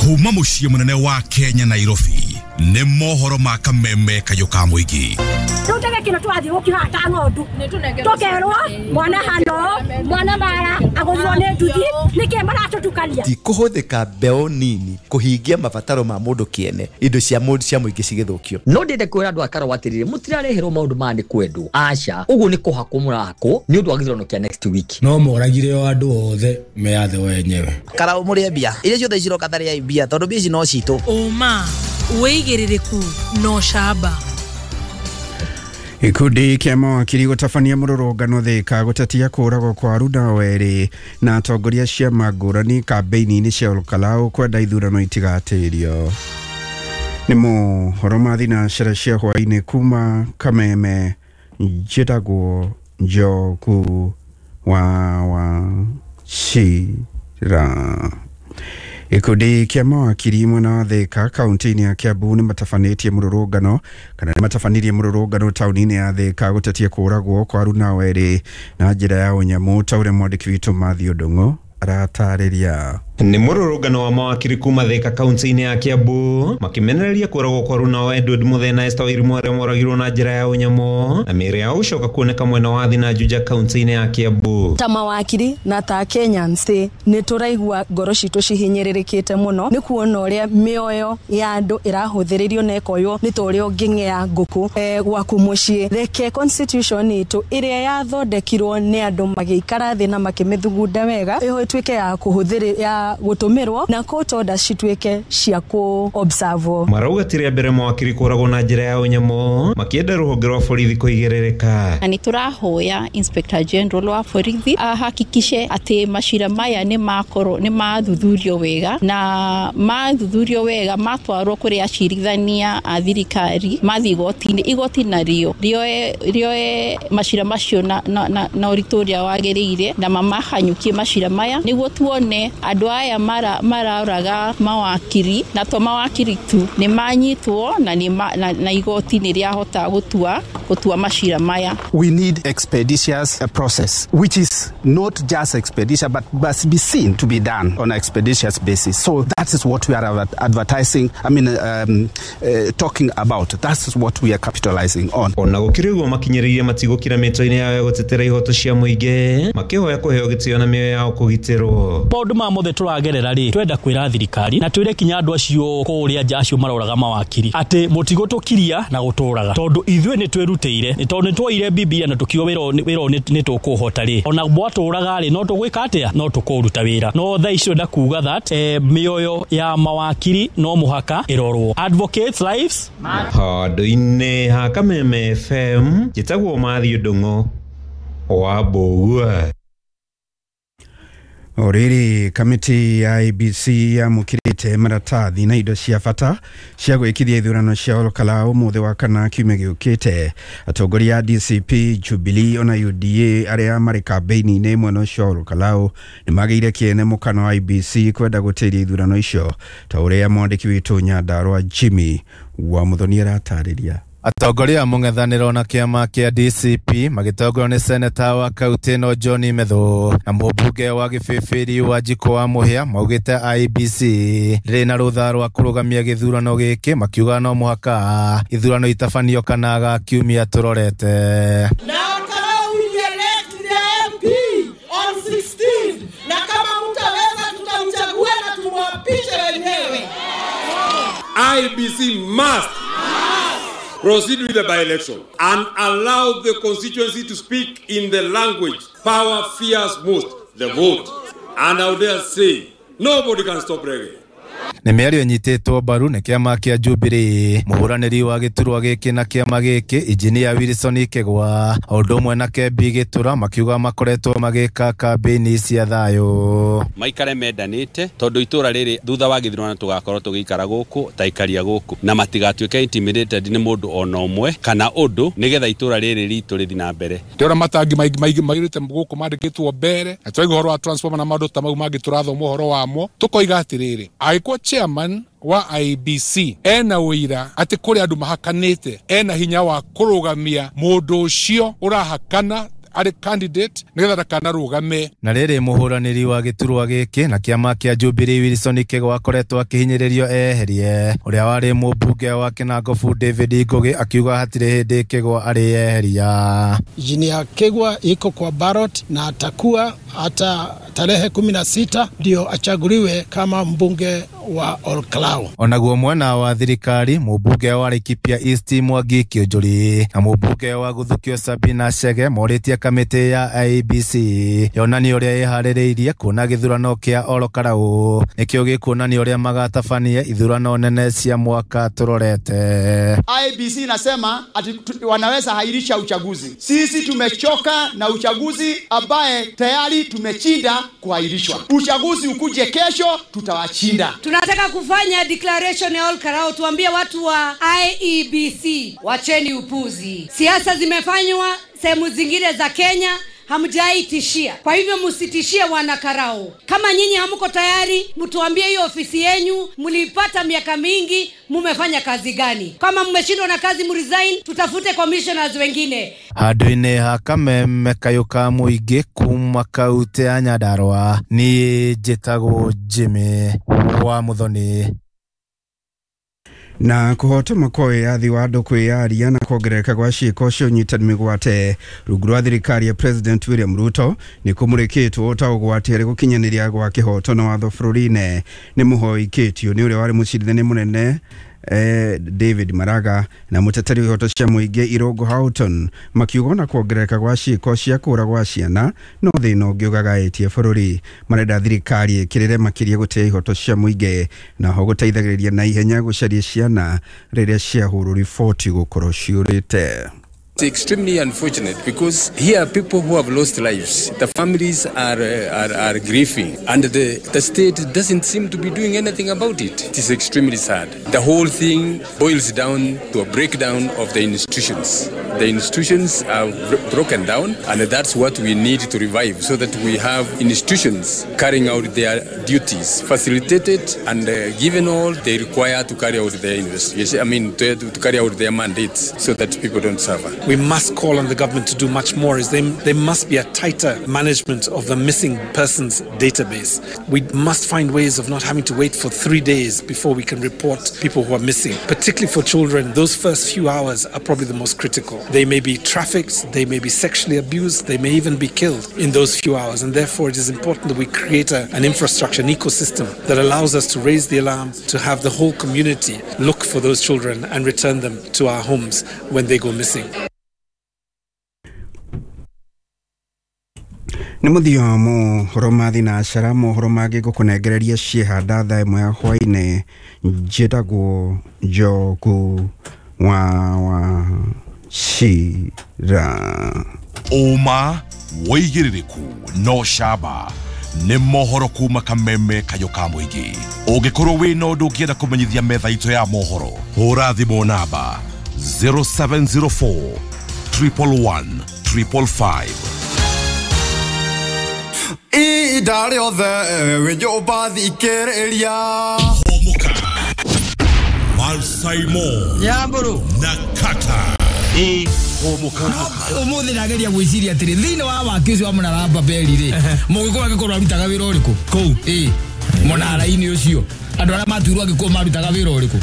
Kuma mũciĩ mũnene wa Kenya Nairobi nĩ mohoro ma kameme kayũ ka mũingĩ. Rĩu kĩno tũrathiĩ gũkĩhata ng'ondu tũkerwo mwana hano mwana mara agũthirwo nĩ nduthi nĩkĩ maratũtukania. Ti kũhũthĩka mbeũ nini kũhingia mabataro ma mũndũ kĩene, indo cia mũndũ cia mũingĩ cigĩthũkio. No ndĩende kwĩra andũ a Karau atĩrĩrĩ, mũtirareherwo maũndũ maya nĩ kwendwo, aca, ũguo nĩ kũhakwo mũrahakwo nĩ ũndũ wa gĩthurano kĩa next week. No moragire o andũ othe meyathe wenyewe. Karau mũrĩe mbia iria ciothe ciroka tarĩai mbia tondũ mbia ici no citũ. Ũma wĩigĩrĩrĩku no camba. Gĩkundi kĩa mawakiri gũtabania mũrũrũngano Thika gũtetia kũragwo kwa Runa Werĩ na atongoria ciama ngũrani kambĩini-inĩ cia Olkalau kwenda ithurano itigatĩrio. Nĩ mohoro ma thinacara cia hwaĩ-inĩ kuma Kameme, njĩtagwo Njogu wa Wachira. Gĩkundi kĩa mawakiri mwena wa Thika kaunti-inĩ ya Kiambu nĩ matabanĩtie mũrũrũngano kana nĩ matabanirie mũrũrũngano taũni-inĩ ya Thika gũtetia kũragwo kwa Runa Werĩ na njĩra ya ũnyamũ ta ũrĩa mwandĩki witũ Mathew Ndung'u aratarĩria. Nĩ mũrũrũngano wa mawakiri kuma Thika kaunti-inĩ ya Kiambu makĩmenereria kũragwo kwa Runa Edward Muthee na Esther Wairimu arĩa moragirwo na njĩra ya ũnyamũ na mĩĩrĩ yao gũcoka kuoneka mwena wa Thina Juja kaunti-inĩ ya Kiambu. Ta mawakiri na ta Kenyans nĩ tũraigua ngoro citũ cihinyĩrĩrĩkĩte mũno nĩ kuona ũrĩa mĩoyo ya andũ ĩrahũthĩrĩrio na ĩkoywo nĩ ta ũrĩa ũngĩng'ea ngũkũ gwaku mũciĩ. Reke constitution itũ ĩrĩa yathondekirwo nĩ andũ magĩikara thĩ na makĩmĩthugunda wega ĩtuĩke ya kũhũthĩrĩ ya gũtũmĩrwo na court orders cituĩke cia kũ observe. Marauga ti rĩa mbere mawakiri kũragwo na njĩra ya ũnyamũ makĩenda rũhonge rwa borithi kũigĩrĩrĩka. Na nĩ tũrahoya Inspector General wa borithi ahakikishe atĩ macira maya nĩ makorwo nĩ mathuthurio wega na mathuthurio wega matwarwo kũrĩ acirithania a thirikari mathiĩ igoti-inĩ, igoti narĩo rĩoe macira macio na ũritũ ũrĩa wagĩrĩire na mamahanyũkie macira maya nĩguo tuone andũ aya maraũraga mawakiri na to mawakiri tu nĩ manyitwo na na igoti nĩ rĩahota gũtua macira maya. We need expeditious process which is not just expeditious but must be seen to be done on an expeditious basis. So that is what we are advertising, I mean talking about. That is what we are capitalizing on. Ona gũkĩrĩ ũguo makinyĩrĩirie matigũkira mĩtwe-inĩ yao ya gũtetera ihoto cia mũingĩ makĩhoya kũheo gĩtĩo na mĩoyo yao kũgitĩrwo. Maũndũ maya mothe tũragerera rĩ, twenda kwĩra thirikari na twĩre kinya andũ acio kũrĩa nja acio maroraga mawakiri atĩ mũtigũtũkiria na gũtũraga tondũ ithuĩ nĩ twĩrutĩire, nĩ tondũ nĩ twoire Bibilia na tũkiuga wĩra nĩ tũkũhota rĩ, ona mwatũraga rĩ no tũgwĩka atĩa, no tũkũruta wĩra. No thaa ici twenda kuga that mĩoyo ya mawakiri no mũhaka ĩrorwo. Advocates lives handũ-inĩ ha Kameme FM, njĩtagwo Mathew Ndung'u wa Mbũgua. O rĩrĩ, kamĩtĩ ya IEBC yamũkĩrĩte maratathi na indo cia bata cia gwĩkithia ithurano cia Olkalau ũmũthĩ wa kana kiumia gĩũkĩte. Atongoria a DCP, Jubilee ona UDA arĩa marĩ kambĩini-inĩ mwena ũcio wa Olkalau nĩ magĩire kĩene mũkano wa IEBC kwenda gũtĩria ithurano icio ta ũrĩa mwandĩki witũ Nyandarua Jimmy wa Muthoni aratarĩria. Atongoria a mũng'ethanĩro na kĩama kĩa DCP magĩtongorio nĩ seneta wa kaunti ĩno John Methu na mũmbunge wa Gĩbĩbĩri wa Njikũ wa Mũhĩa maugĩte IEBC rĩrĩ na rũtha rwa kũrũgamia gĩthurano gĩkĩ makiuga no mũhaka ithurano itabanio kana ga kiumia tũrorete. Na Olkalau we elect the MP on 16 na kama mtaweza tutamchagua na tumwapishe wenyewe. IEBC must proceed with the by-election and allow the constituency to speak in the language power fears most, the vote. And I would dare say, nobody can stop reggae. Nĩ mĩario ĩnyitĩtwo mbaru nĩ kĩama kĩa Jubilee, mũhũranĩri wa gĩturwa gĩkĩ na kĩama gĩkĩ Injinia Wilson Kĩgwa o ũndũ ũmwe na Kembi Gĩtura makiuga makoretwo magĩka kambĩini cia thayũ. Maikare mendanĩte tondũ itũra rĩrĩ thutha wa gĩthurano tũgakorwo tũgĩikara gũkũ ta ikaria gũkũ na matigatuĩke intimidated nĩ mũndũ ona ũmwe kana ũndũ nĩgetha itũra rĩrĩ ritũ rĩthiĩ na mbere. Ndĩrona matangi maingĩ mairĩte gũkũ mandĩkĩtwo mbere na twaigua ũhoro wa transformer na maũndũ ta mau mangĩ tũrathoma ũhoro wamo tũkoiga atĩrĩrĩ, angĩkorwo chairman wa IEBC ena ũira atĩ kũrĩ andũ mahakanĩte, ena hinya wa kũrũgamia mũndũ ũcio ũrahakana arĩ candidate nĩgetha ndakanarũgame. Na rĩrĩ mũhũranĩri wa gĩturwa gĩkĩ na kĩama kĩa Jubilee Wilson Kĩgwa akoretwo akĩhinyĩrĩrio eherie ũrĩa warĩ mũmbunge wa Kinangofu David Ngugi akiuga hatirĩ hĩndĩ Kĩgwa arĩeheria. Engineer Kegwa iko kwa ballot na atakuwa hata tarehe 16 ndio achaguliwe kama mbunge wa Olkalau. Onaguo mwena wa thirikari mũmbunge wa Laikipia East Mwangi Kĩũnjũri na mũmbunge wa Gũthukio Sabina Chege morĩtie kamĩtĩ ya IEBC yonanie ũrĩa ĩharĩrĩirie kuona gĩthurano kĩa Olkalau nĩkĩo gĩkuonania ũrĩa magatabania ithurano nene cia mwaka tũrorete. IEBC inasema ati wanaweza hairisha uchaguzi. Sisi tumechoka na uchaguzi ambaye tayari tumechinda kuhairishwa. Uchaguzi ukuje kesho, tutawashinda. Tunataka kufanya declaration ya Olkalau, tuambie watu wa IEBC wacheni upuzi. Siasa zimefanywa sehemu zingine za Kenya, hamjaitishia. Kwa hivyo msitishie wanakarau. Kama nyinyi hamko tayari, mtuambie hiyo ofisi yenyu mlipata miaka mingi, mumefanya kazi gani? Kama mmeshindwa na kazi mresign, tutafute commissioners wengine. Handũ-inĩ ha kameme kayũ ka mũingĩ kuma kaunti ya Nyandarua niĩ njĩtagwo Jimmy wa Muthoni. Na kuhotoma kwa wĩyathi wa andũ kwĩyaria na kuongerereka gwa ciĩko cia ũnyitani mĩgwate rungu rwa thirikari ya President William Ruto nĩ kũmũrĩkĩtwo ta ũgwati harĩ gũkinyanĩria gwa kĩhoto na watho bũrũri-inĩ. Nĩ mũhoi Kĩtio nĩ ũrĩa warĩ mũcirithania mũnene David Maraga na mũteteri wa ihoto cia mũingĩ Irũngũ Houghton makiuga na kuongerereka gwa ciĩko cia kũũra gwa ciana no thĩna ũngĩ ũgagaĩtie bũrũri. Marenda thirikari ĩkĩrĩre makĩria gũtĩa ihoto cia mũingĩ na ho gũteithagĩrĩria na ihenya gũcaria ciana rĩrĩa ciahũrwo riboti gũkorwo ciũrĩte. It's extremely unfortunate because here are people who have lost lives. The families are grieving, and the state doesn't seem to be doing anything about it. It is extremely sad. The whole thing boils down to a breakdown of the institutions. The institutions are broken down, and that's what we need to revive so that we have institutions carrying out their duties, facilitated and given all they require to carry out their investigation. I mean, to carry out their mandates so that people don't suffer. We must call on the government to do much more. There must be a tighter management of the missing persons database. We must find ways of not having to wait for 3 days before we can report people who are missing. Particularly for children, those first few hours are probably the most critical. They may be trafficked, they may be sexually abused, they may even be killed in those few hours. And therefore it is important that we create an infrastructure, an ecosystem that allows us to raise the alarm, to have the whole community look for those children and return them to our homes when they go missing. Nĩ mũthia mohoro ma thinacara mohoro mangĩ ngũkũnengereria ciĩhanda thaa ĩmwe ya hwaĩ-inĩ. Njĩtagwo Njogu wa Wachira. Ũma wĩigĩrĩrĩku no camba nĩ mohoro kuma kameme kayũ ka mũingĩ. Ũngĩkorwo wĩna ũndũ ũngĩenda kũmenyithia metha itũ ya mohoro, hũra thimũ namba 0704 111 555. Ihinda rĩothe wĩ nyũmba thikĩrĩria. Homoka Malsaimo Nyamburu na Kata Homoka. Ũmũthĩ ndageria gwĩciria atĩrĩ thĩinĩ wa waki ũcio wa mũnara wa Babeli rĩ, mũgĩkũyũ angĩkorwo arutaga wĩra ũrĩkũ kũu mũnara-inĩ ũcio andũ arĩa matuirwo angĩkorwo marutaga wĩra ũrĩkũ?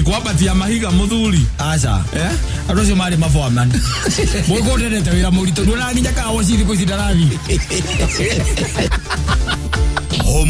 Kwambatia mahiga muthuri. Aca andũ acio marĩ maboaman. Mũgĩkũyũ ndendete wĩra mũritũ, nduonaga nginya kawa cithi kũ ici ndarathi.